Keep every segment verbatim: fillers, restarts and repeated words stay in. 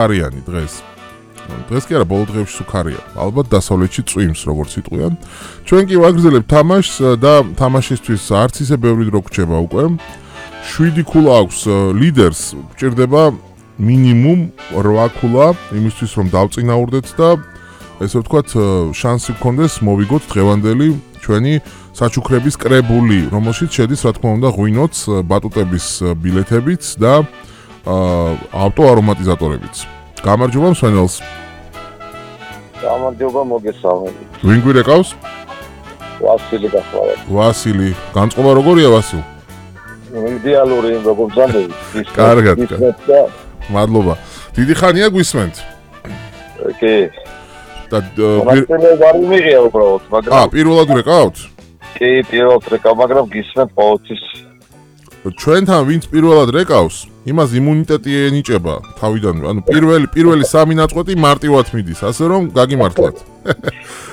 არიანი დღეს. დღეს კი არა, ბოლო დღეებში სუქარია. ალბათ დასავლეთში წვიმს, როგორც იტყვიან. ჩვენ კი ვაგრძელებთ თამაშს და თამაშისთვის არც ისე ბევრი დრო გრჩება უკვე. შვიდი ქულა აქვს ლიდერს, გჭირდება მინიმუმ რვა ქულა, იმისთვის რომ დავწინაურდეთ და ესე ვთქვათ, შანსი გქონდეს მოვიგოთ დღევანდელი ჩვენი საჩუქრების კრებული, რომელშიც შედის, რა თქმა უნდა, ღვინოც, ბატუტების ბილეთებიც და ავტო არომატიზატორებიც. გამარჯობა მსვენელს. გამარჯობა მოგესალმებით. ვინ გვირეკავს? ვასილი გახლავთ. ვასილი, განწყობა როგორია ვასილ? იდეალური როგორ ზამები. კარგად. მადლობა. დიდი ხანია გვისმენთ. კი. და პირველად არ მიღია უბრალოდ, მაგრამ აა, პირველად გვირეკავთ? კი, პირველად რეკავ, მაგრამ გისმენთ ყოველთვის. ჩვენთან ვინც პირველად რეკავს, იმას იმუნიტეტი ენიჭება თავიდან, ანუ პირველი პირველი სამი ნაწყვეტი მარტივად მიდის, ასე რომ გაგიმართლათ.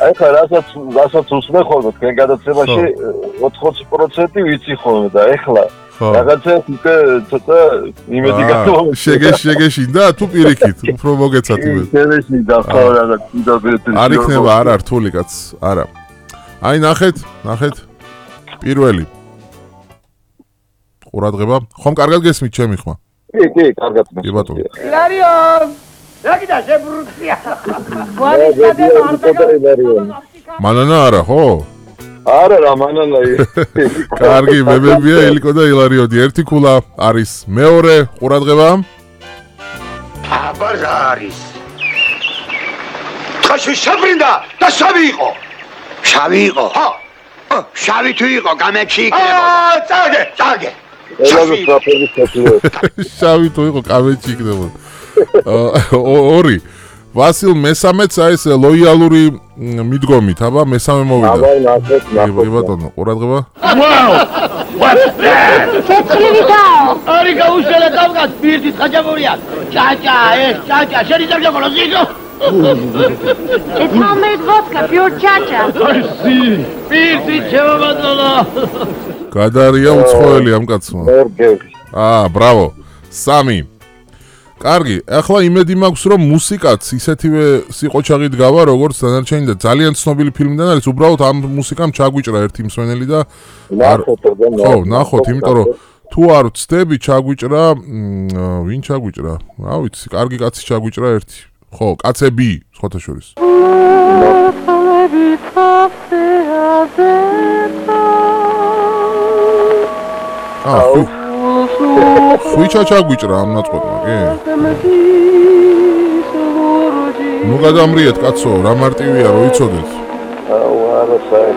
აი ხა რასაც რასაც უსმენ ხოლმე თქვენ გადაცემაში ოთხმოცი პროცენტი ვიცი ხოლმე და ეხლა რაღაცა უკვე ცოტა იმედი გათხოვე. შეგეში შეგეშინდა თუ პირიქით, უფრო მოგეცათ იმედი. შეგეში და ხო რაღაც ინტერპრეტი. არ იქნება არა რთული კაც, არა. აი ნახეთ, ნახეთ. პირველი ყურადღება. ხომ კარგად გესმით ჩემი ხმა? კი, კი, კარგად მესმის. კი ბატონო. ილარიონ! რა კიდე შებრუცია? მანანა არა, ხო? არა რა, მანანა. კარგი, მებებია ელიკო და ილარიონი. ერთი ქულა არის. მეორე ყურადღება. აბა რა არის? ხაში შებრინდა და შავი იყო. შავი იყო? ხო. შავი თუ იყო, გამეჩი იქნებოდა. აა, წაგე, წაგე. ელაზოს რაფერმის შეძლო. შავი თუ იყო, გამეჩი იქნებოდა. ორი. ვასილ მესამეც აი ეს ლოიალური მიდგომით, აბა მესამე მოვიდა. აბა ნახეთ, ნახეთ. ბატონო, ყურადღება. Wow! What's that? შეცვლივიდაო! არი გაუშველე კავკას პირდით ხაჭაპურია. ჭაჭა, ეს ჭაჭა, შენი ძაღლი ზიგო. It's homemade vodka, pure chacha. სი, პირდით შემოგადოლა. გადარია უცხოელი ამ კაცმა. მორგევი. აა, ბრავო. სამი. კარგი, ახლა იმედი მაქვს რომ მუსიკაც ისეთივე სიყოჩაღით გავა როგორც დანარჩენი და ძალიან ცნობილი ფილმიდან არის, უბრალოდ ამ მუსიკამ ჩაგვიჭრა ერთი მსვენელი და ნახოთ და ხო, ნახოთ, იმიტომ რომ თუ არ ვცდები ჩაგვიჭრა, ვინ ჩაგვიჭრა? რა ვიცი, კარგი კაცი ჩაგვიჭრა ერთი. ხო, კაცები, სხვათა შორის. აა, ხუიჩა ჩაგვიჭრა ამ ნაწყვეტმა, კი? ნუ გადამრიეთ, კაცო, რა მარტივია, რო იცოდეთ. აუ, არა საერთოდ